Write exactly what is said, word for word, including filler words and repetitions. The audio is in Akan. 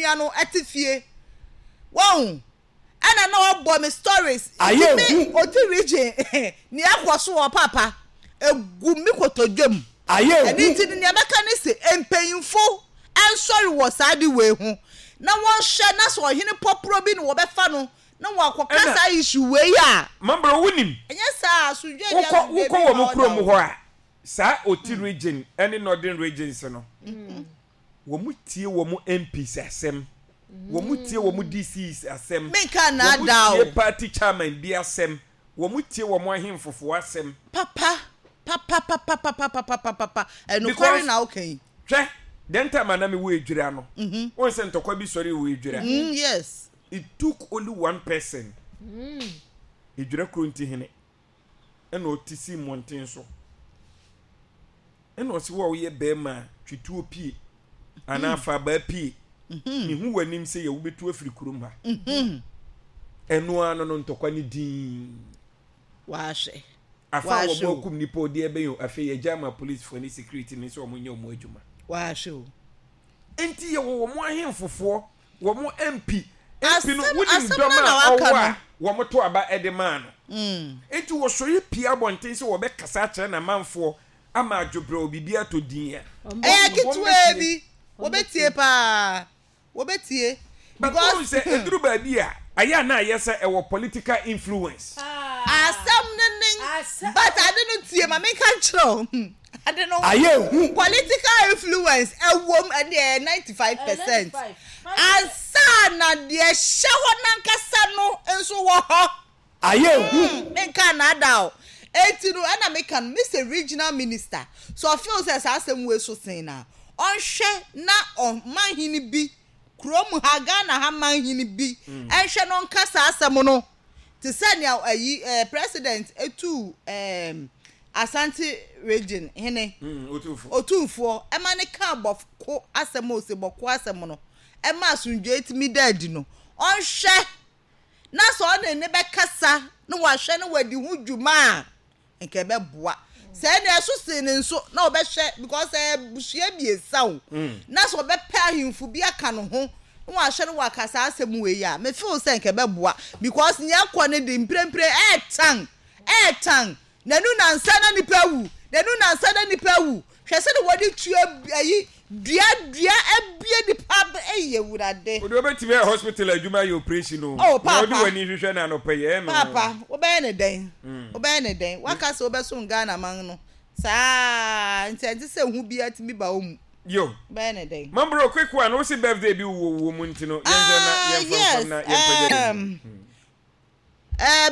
nua no ɛte fie wɔn ɛna na ɔbɔ me stories. Ayɛ nti me hu. Oti Region nea ɛkɔ so wɔ, papa, egu me kotodwam. Ayɛ ɛne hu. Nti no, nea mɛka ne sɛ mpanyinfo ɛnsɔre wɔ saa de wei ho na wɔnhyɛ na sɛ ɔhene pɔporɔ bi na wɔbɛfa no na wɔakɔka Ɛna- saa issue wei a Mambro, wonim, ɛnyɛ saa asomdwe deɛ wokɔ asomdwe wokɔ bi wɔ ma mo ɔda kurom o. hɔ a, saa Oti Region ɛne Northern Regions no, wɔn mu tie wɔn M Ps asɛm, wɔn mu tie wɔn D C Es asɛm, Menka wɔn mu naadaa o. tie party chairman bi asɛm, wɔn mu tie wɔn ahemfofoɔ asɛm. Papa papa papa papa papa papa papa, ɛnokware Because- na woka yi. Hwɛ, den time a na mi wɔ Edwira no, wɔn sɛ ntɔkwa bi sɔre wɔ Edwira. mm, yes It took only one person, Edwira kuro nti hene, ɛna ɔte si mmɔnten so ɛna ɔsi wɔ a ɔyɛ bɛrima a twituo pie anaa faabaa pie, mihu w'anim sɛ yɛ wobɛtu afiri kurom ha. Ɛno ano no, ntɔkwa ne din. Wahwɛ. Afa a Wahwɛ wɔn o. akum nipa odi ɛbɛn o, afei yɛgya ama polisifoɔ ne security ne sɛ wɔn nyɛ wɔn adwuma. Wahwɛ o. Nti yɛwɔ wɔn ahemfofoɔ, wɔn M P M P no Asɛm- wonim asɛm dɔm no na a waka ɔwɔ no. a wɔn to aba ɛde maa no. Mm. Nti wɔsɔre pie abɔnten sɛ wɔbɛkasa akyerɛ n'amanfoɔ ama adwobrɛ wɔ biribi atɔ din a Ɛyɛ wɔn ketewa bɛtie. bi wɔbɛtie paa, wɔbɛtie. But wɔn sɛ eduru baabi a ayɛ a na ayɛ sɛ ɛwɔ political influence. Asɛm no ne Asɛm- but ade no, tie ma menka nkyerɛ o, ade no Ayɛ hu. political influence ɛwom, ɛne ɛyɛ ninety five percent. ninety-five. Ansa na deɛ hyɛ hɔ nankasa no nso wɔ hɔ. Ayɛ hu. Menka naada o. Eti no ɛna meka no, Mister Regional Minister, so ɔfeel sɛ saa asɛm wei so sen na ɔnhwɛ na ɔmanhene bi kurom ha, Ghana ha manhene bi ɛnhwɛ no, ɔnka saa asɛm no te sɛ nea ayi ɛɛ president etu ɛɛm Asante Region hene. Mm, otumfo. Otumfoɔ ɛma ne ka Bawku asɛm a ose Bawku asɛm no ɛma asomdwe etumi da adi no, ɔnhwɛ na sɛ ɔne ne bɛkasa na wahwɛ na wadi ho dwuma a, nka ɛbɛboa. Sɛ ɛna ɛso sen ne nso na ɔbɛhwɛ because ɛyɛ busua mmiɛnsa o, na sɛ ɔbɛpɛ ahemfo bi aka ne ho na wahwɛ no waka saa asɛm wei a, me feel sɛ nka ɛbɛboa because nea ɛkɔ ne de mprempren ɛɛtan ɛɛtan n'anu nansa na nipa awu, n'anu nansa na nipa awu. Hwɛ sɛ de wɔde tua ayi dua dua abie nipa ɛyɛ Wurade. Wode wobɛtumi ayɛ hospital adwuma, ayɛ operation o. Oh, Na papa. wode w'ani hwehwɛ no anɔpɛ yɛ no. Papa, wobɛyɛ ne dɛn? Wobɛyɛ ne dɛn? Waka sɛ wobɛsom Ghana man no saa nti ɛnte sɛ hu bi atumi ba wo mu. Yo. Wobɛyɛ ne dɛn? Mambro, quick one, wo se birthday bi wɔ wɔ mu nti no, yɛnhwɛ na Ah, yɛmfa yes mfam na yɛmpagya um, uh,